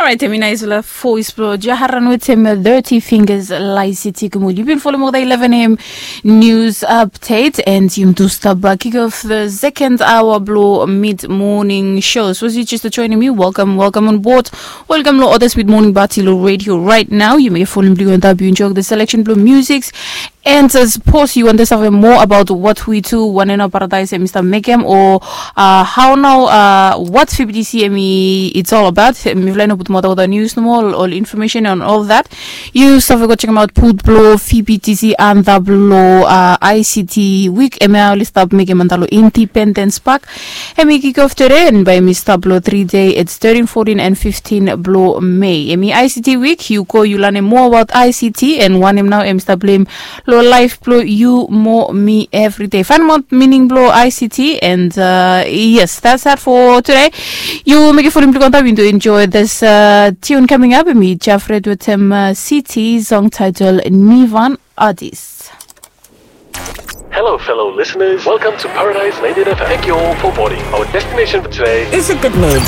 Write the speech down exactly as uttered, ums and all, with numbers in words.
Aitemi naisela voice blo Jaharan wetem thirty fingers laisiti kumul. You've been following the eleven a.m. news update and yum tu stop uh, kick off the second hour blo mid morning show. So you just joining me, welcome, welcome on board. Welcome lo others mid morning party lo radio right now. You may follow blue on W enjoy the selection blo musics. And uh, suppose you want to know more about what we do, one and paradise and Mister Mekem, or uh, how now, uh, what F B T C M E it's all about. Mifla no put more the news no more, all information and all that. You stuff go check them out. Put blo F B T C and the blo uh, I C T week. Emi a oli stop mekem and the Independence Park. Emi kick off today and by Mister Blo three day. It's thirteen, fourteen and fifteen blo May. Emi I C T week. You go you learn more about I C T and one him now Mister Blame lo life blo you more me every day. Find out meaning blo I C T and uh, yes, that's that for today. You make it for him to contact me to enjoy this uh, tune coming up. Me Jeffred with him uh, C T song title Nivan Artist. Hello, fellow listeners. Welcome to Paradise ninety-eight F M. Thank you all for boarding. Our destination for today Is a good mood.